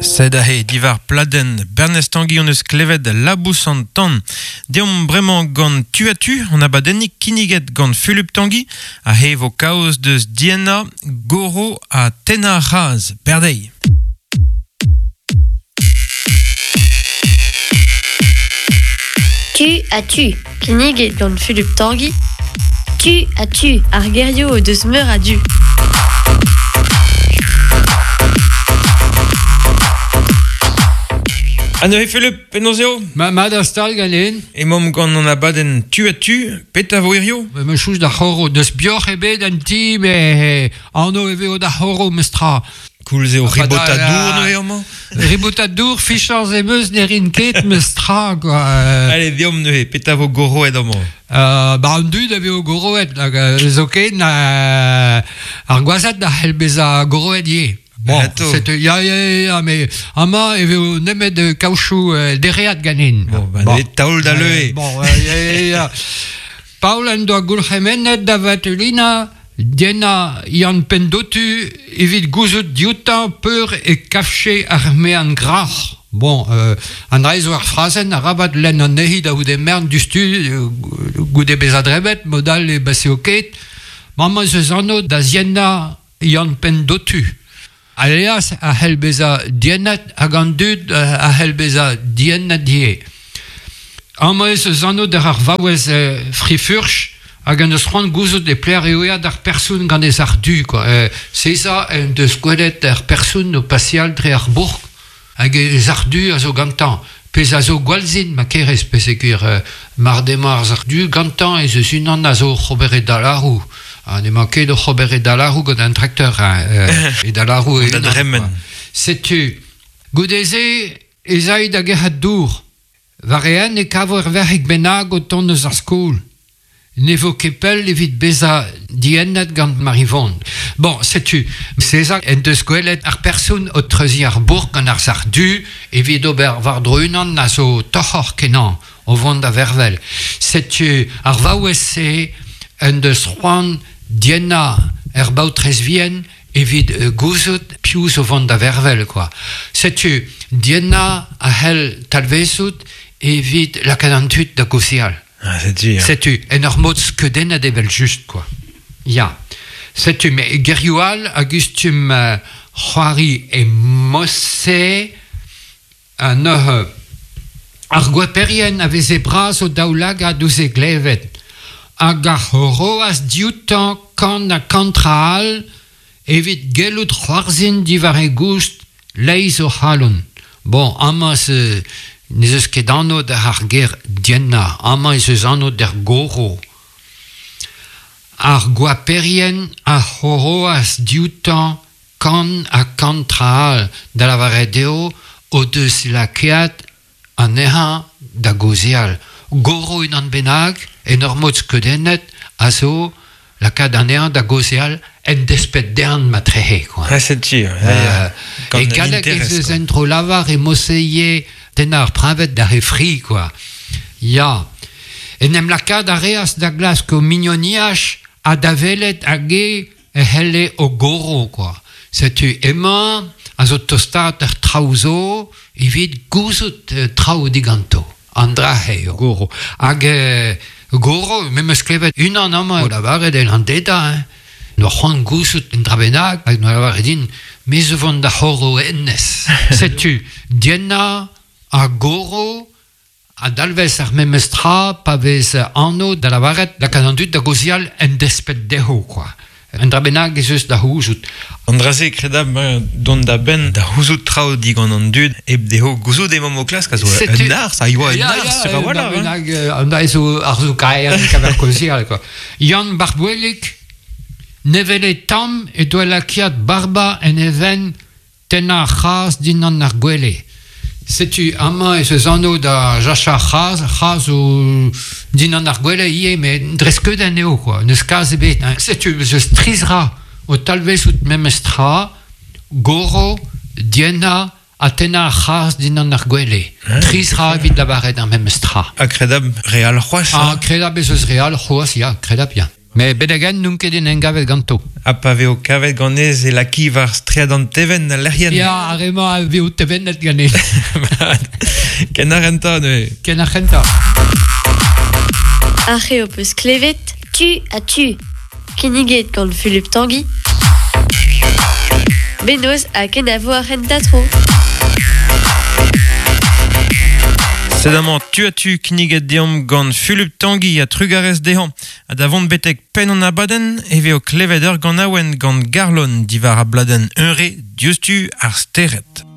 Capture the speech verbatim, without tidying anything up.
Sed ahe divar pladenn Bernez Tangi on eus klevet labous an tan. Deomp bremañ gant tu a tu, on abadennik kinniget gant Fulup Tangi, a he vo kaoz deus Diana, Goro ha Tena Raz. Berdei. Tu a tu. Kinniget gant Fulup Tangi. Tu a tu. Ar gerioù o deus meur a du. Ha neuze Fulup, penaos eo? Ma, ma da stal ganen. Emaomp gant an abadenn tu a tu, peta vo hirio? Me chouz da c'horo, deus bioc'h ebet an ti, me anv e veo da c'horo mestra. Koulz eo ribotadour neuze amañ? Ribotadour, fichañs em eus ne rin ket mestra, quoi. Allez, deomp neuze, peta vo goroet amañ? Euh, ba an dud a veo goroet, hag zo ken euh, ar gwazad da c'hell bezañ goroet ivez. Bon, c'est ya ya ya mais amañ e veo nemet kaochoù euh, dereat ganin. Bon, ben, bon. Taol da leue. Bon, ya ya ya. Paol en doa gourc'hemennet da Vatulina, Diena Yann Pendotu evit gouzout dioutañ peur e kafche ar mean grac'h. Bon, euh, an dra zo ar frazenn arabat lenn an nehi da goude mern dustu goude bezañ drebet, modal e baseo ket. Maman eus anv da Ziena Yann Pendotu. Alias a c'hell bezañ diennet hag an dud a c'hell bezañ diennet ivez. Amañ ez eus anv d'ar ar vaouez frifurch hag an eus c'hoant gouzout e pler eo eat ar person gant ez ar du, quoi. Euh, Seza en deus gwelet ar person o pasial dre ar bourg hag ez ar du a zo gantañ. Pez a zo gwalzin ma kerez pez e gwir euh, mar demañ ar du gantañ ez eus unan a zo c'hober e dalarou. Ha ne emañ ket o c'hober e dalarou gant an trakteur, hein, euh, e dalarou e unan. Setu, goude-se ez aï da gerc'hat dour. War e e kavo ar verc'hig bennak o tont eus ar skol. Ne vo ket pell evit bezañ diennet gant Marivon. Bon, setu, César en deus gwelet ar person o treuziñ ar bourg gant ar sac'h du evit ober war dro unan a zo toc'hor kenañ o vont da vervel. Setu, ar vaouez-se en deus c'hoant dienna er baotrez vien evit gouzout piv zo vont da vervel, quoi. Setu, dienna a c'hell talvezout evit lakaat an tud da gaozeal. Ah, setu, ya. Setu, en ur mod skeudennet evel just, quoi. Ya. Setu, me gerioù all a gustum euh, c'hoari e mosse an ur ar gwaperien a veze bras o daoulagad ouzh e glevet. Hag ar c'horoaz dioutañ kant ha kant tra all evit gellout c'hoarzhin diwar e goust leizh o c'halon. Bon, amañ se n'ez eus ket anv d'ar ar ger dienna, amañ ez eus anv d'ar goro. Ar gwaperien a c'horoaz dioutañ kant ha kant tra all da lavaret eo o deus lakaet anezhañ da gaozeal. Goro unan bennak, en ur mod skeudennet, a zo lakaat anezhañ da gaozeal en despet dezhañ ma trehe, quoi. Ah, setu, euh, e galleg ez eus en tro lavar e moseie tennañ ar preñved d'ar e fri, quoi. Ya. En em lakaat a reas da glask o mignoniaj ha da welet hag e c'helle o goro, quoi. Setu emañ a zo tostaat ar traoù zo evit gouzout traoù diganto. An dra eo goro. Hag euh, goro, me meus klevet unan amañ o lavaret el an deda, hein. No c'hoant gouzout en dra bennak, hag no lavaret din, me zo vont da c'horo ennez. Setu, dienna ha goro a dalvez ar memes tra pa vez anv da lavaret lakaat an dud da gaozeal en despet dezho, quoi. Un dra bennak ez eus da c'houzout. An dra-se kredab dont da benn da c'houzout traoù digant an dud hep dezho gouzout emañ o klask a zo un arz, a yoa un arz sur a-walc'h. Bennak, an dra zo ar zo kaer kaver kaozeal, quoi. Yann Barbouellig ne wele tamm e doa lakaat barba en e venn tennañ ar c'haz dindan ar gwele. Setu amañ ez eus anv da jachañ ar c'haz, c'haz o dindan ar gwele ivez, met dre skeudenn eo, quoi. N'eus kaz ebet. Hein. Setu ez eus tri zra o talvezout memes tra, goro, dienna ha tennañ ar c'haz dindan ar gwele. Tri zra evit lavaret ar memes tra. Ha kredab re all c'hoazh. Ha kredab ez eus re all c'hoazh, ya, kredab, ya. Me bedegen n'on ket en engavet ganto. Ha pa veo kavet ganez e laki war stread an teven al lec'hien. Ya, ar emañ a veo tevennet ganez. Ken ar renta, neuze. Ken ar renta. Ar c'heo peus klevet, Tu a tu. Kinniget gant Fulup Tanguy. Benoz ha ken a vo ar renta tro. Sedamañ tu a tu kinniget deomp gant Fulup Tanguy a trugarez dezhañ. Ha da vont betek penn an abadenn e veo klevet ur gant awen gant Garlon divar a bladenn unre diouzhtu ar stered.